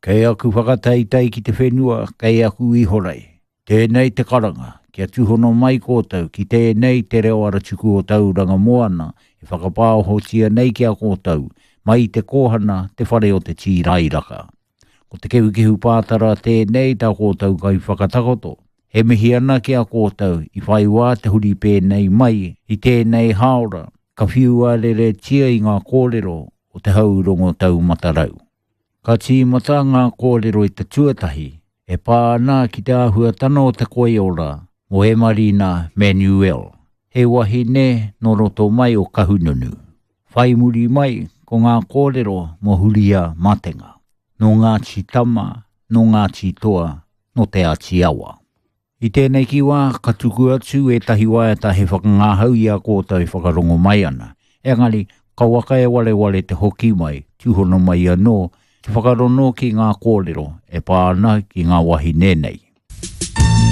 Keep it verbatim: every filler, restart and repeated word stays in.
Kei aku whakataitai ki te whenua, kei aku ihorei. Tēnei te karanga, kia tūhono mai koutou ki tēnei te reo aratuku o Tauranga Moana e whakapāohotia nei ki a koutou, mai i te kōhana te whare o te tīrairaka. Ko te kehukehu pātara tēnei tā koutou kai whakatakoto. He mihi ana ki a koutou i whai wā te huri pēnei mai i tēnei hāora, ka whiua reretia i ngā kōrero o te haurongo taumatarau. Ka tīmata ngā kōrero i te tuatahi, e pā ana ki te āhuatana o te koiora mō Emarina Manuel, he wahine nō roto mai o Kahungunu. Whai muri mai ko ngā kōrero mō Huria Matenga, nō Ngāti Tama, nō Ngāti Toa, nō Te Āti Awa. I tēnei ki wā, ka tuku atu ētahi waiata he whakangahau i a koutou e whakarongo mai ana. Engari, kauaka e wareware te hoki mai, tūhono mai anō, te whakarono ki ngā kōrero e pā ana ki ngā wahine nei.